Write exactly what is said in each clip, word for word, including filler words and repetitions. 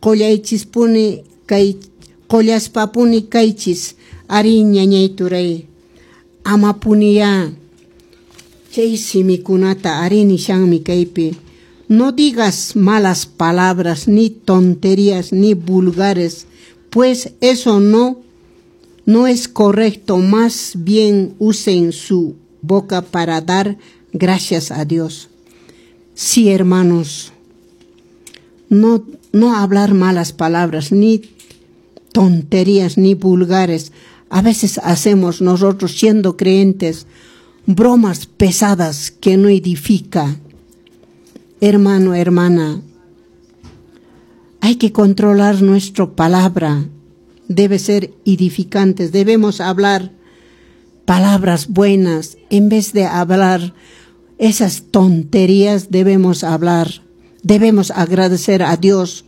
Qollaychispuni kay qollaspapuni kaychis. Ari ñañay turay, amapuniyá chay simikunata ari nishanmi kaypi. No digas malas palabras, ni tonterías, ni vulgares, pues eso no, no es correcto. Más bien usen su boca para dar gracias a Dios. Sí, hermanos, no, no hablar malas palabras, ni tonterías, ni vulgares. A veces hacemos nosotros, siendo creyentes, bromas pesadas que no edifica. Hermano, hermana, hay que controlar nuestra palabra. Debe ser edificantes. Debemos hablar palabras buenas. En vez de hablar esas tonterías, debemos hablar. Debemos agradecer a Dios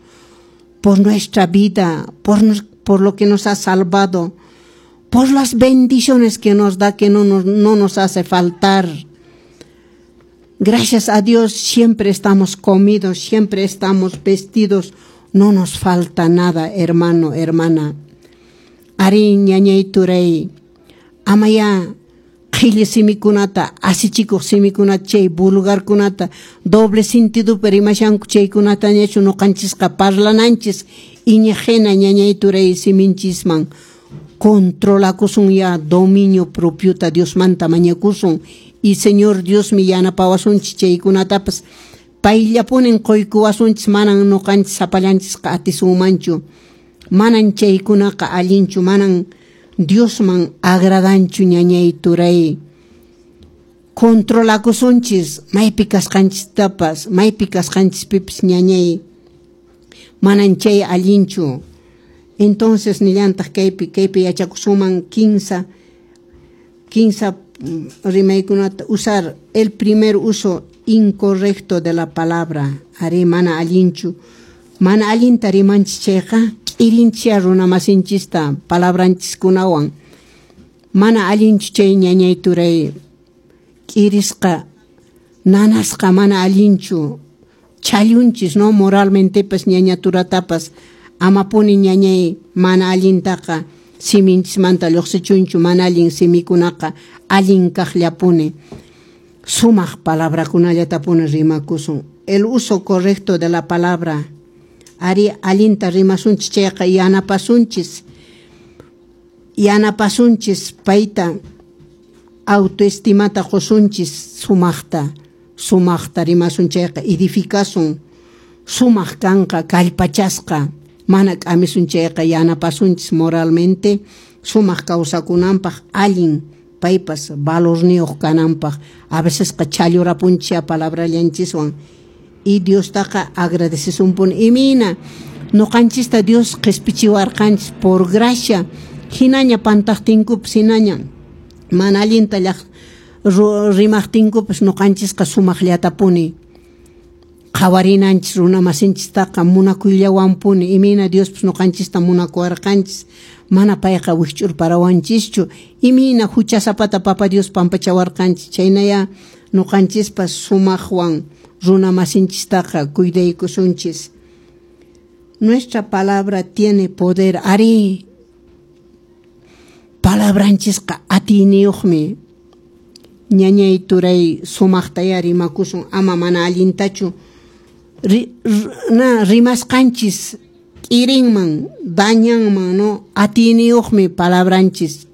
por nuestra vida, por, nos, por lo que nos ha salvado, por las bendiciones que nos da, que no nos, no nos hace faltar. Gracias a Dios siempre estamos comidos, siempre estamos vestidos, no nos falta nada, hermano, hermana. Ari ñañay turay, amaya qhilli simikunata, asichikuq simikunata, chay vulgarkunata, doble sentido rimashanku chaykunatañachu ñuqanchisqa parlananchis, iñiqhina ñañay turay siminchisman controlakusun ya dominio propiota Diosmanta mañakusun y Señor Diosmi yanapawasunchis chaykunatapas payllapunin quykuwasunchis manan ñuqanchis sapallanchisqa atisunmanchu manan chaykunaqa allinchu manan Diosman agradanchu ñañay turay controlakusunchis maypi kasqanchistapas maypi kasqanchispipas ñañay manan chay allinchu. Entonces nillantaq kaypi kaypi yachakusunman kinsa kinsa rimaykunata usar el primer uso incorrecto de la palabra. Ari mana allinchu mana allinta rimanchis chayqa k'irinchia runa masinchista palabranchiskunawan mana allinchu chay ñañay turay k'irisqa nanasqa mana allinchu challunchis no moralmentepas ñaña turatapas amapuni ñañay mana allintaqa siminchismanta lluqsichunchu mana allin simikunaqa allin kaqllapuni sumaq palabrakunallatapuni rimakusun. El uso correcto de la palabra ari allinta rimasunchis chayqa yanapasunchis yanapasunchis payta autoestimata qusunchis sumaqta sumaqta rimasun chayqa edificasun sumaq kanqa kallpachasqa mana k'amisun chayqa yanapasunchis moralmente sumaq kawsakunanpaq allin paypas valorniyuq kananpaq a vecesqa challurapunchis palabrallanchiswan y Diostaqa agradecesunpuni imina ñuqanchista Dios qispichiwarqanchis por gracia hinaña pantaqtinkupas hinaña mana allinta llaq rimaqtinkupas ñuqanchisqa sumaqllatapuni qhawarinanchis runa masinchistaqa munakuyllawanpuni imina Diospas ñuqanchista munakuwarqanchis mana payqa wikch'urparawanchischu imina huchasapata papa Dios pampachawarqanchis chaynaya ñuqanchispas sumaqwan runa masinchistaqa cuidaykusunchis. Nuestra palabra tiene poder. Ari palabranchisqa atiyniyuqmi ñañay turay sumaqtaya rimakusun ama mana allintachu ri, na rimasqanchis k'irinman dañanman no atiyniyuqmi palabranchis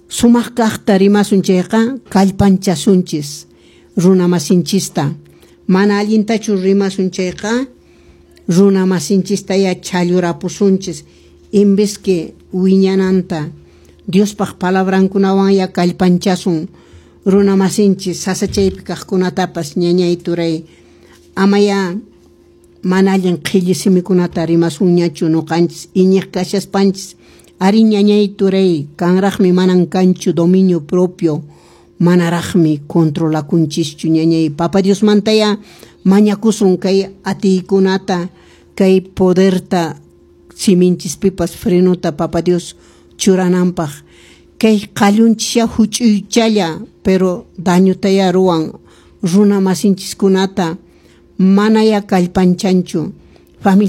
sumaq kaqta rimasun chayqa kallpanchasunchis runa masinchista mana allintachu rimasun chayqa runa masinchistaya challurapusunchis en vez que wiñananta Diospaq palabrankunawan ya kallpanchasun runa masinchis sasachaypi kaqkunatapas ñañay turay amaya mana allin qhilli simikunata rimasunñachu ñuqanchis iñiq kashaspanchis ari ñañay turay kanraqmi manan kanchu dominio propio manaraqmi controlakunchischu ñañay papa Diosmantaya mañakusun kay atiykunata kay poderta siminchispipas frenota papa Dios churananpaq kay qallunchis huch'uychalla pero dañotaya ruwan runa masinchiskunata manaya kallpanchanchu familia.